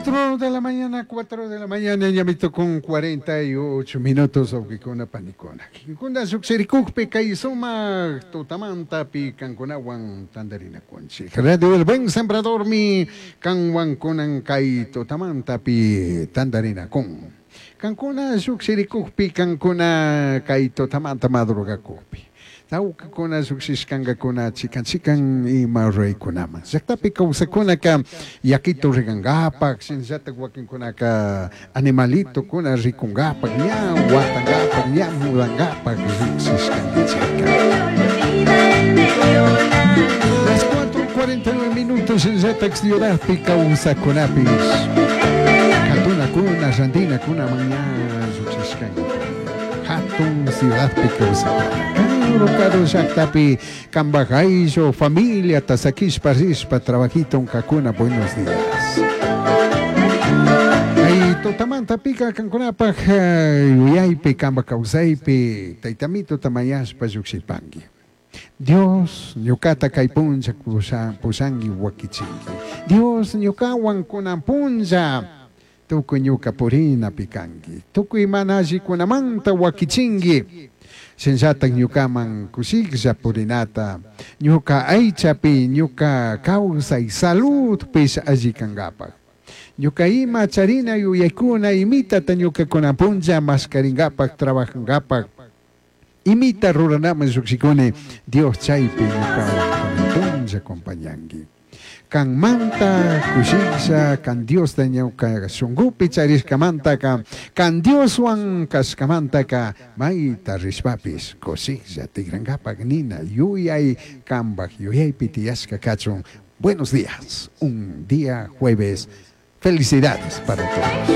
4 de la mañana, 4 de la mañana, ñamito con 48 minutos, wawqikuna panikuna. Kikinkuna lluqshirikukpi kay sumaq tutamantapi kankunawan tantarinakunchik. Radio El Buen Sembradormi kanwan kunan kay tutamantapi tantarinakun. Kankuna lluqshirikukpi, kankuna kay tutamanta madrugakukpi. Tawkakuna llukshishkankakuna chikan chikan ima ruraykunaman. Llaktapi kawsakunaka yakitu rikankapak, shinallatak wakinkunaka animalitokuna rikunkapak, ña watankapak, ña mudankapak llukshishkankichikka. Las 4:49 minutos shinallatak ciudadpi kawsakunapish katunakuna, rantinakuna ña llukshishkankikuna. Hatun ciudadpi kawsakuna. Karu karu llaktapi kambaj ayllu familiata sakishpa rishpa trabajito kakuna buenos días. Kay tutamantapika kankunapaj yuyaypi kambaj kawsaypi taytamituta mañashpa llukshipanki. Dios ñukata kay punlla pushanki wakichinki. Dios ñukawan kunan punlla tukuy ñuka purinapi kanki. Tukuy mana allikunamanta wakichinki. Shinallatak ñukaman kushiklla purinata, ñuka aychapi, ñuka kawsay saludpish alli kankapak. Ñuka ima charina yuyaykuna imitata ñuka kunan punlla mashkarinkapak, trabajankapak, imita ruranaman llukshikuni, Dios chaypi ñukawan kunan punlla acompañanki. Kanmanta kushiklla, kan Diosta ñuka shunkupi charishkamantaka, kan Dioswan kashkamantaka, mayta rishpapish kushiklla tikrankapak nina yuyay kambaj yuyaypi tiyashka kachun. Buenos días, un día jueves. Felicidades para todos.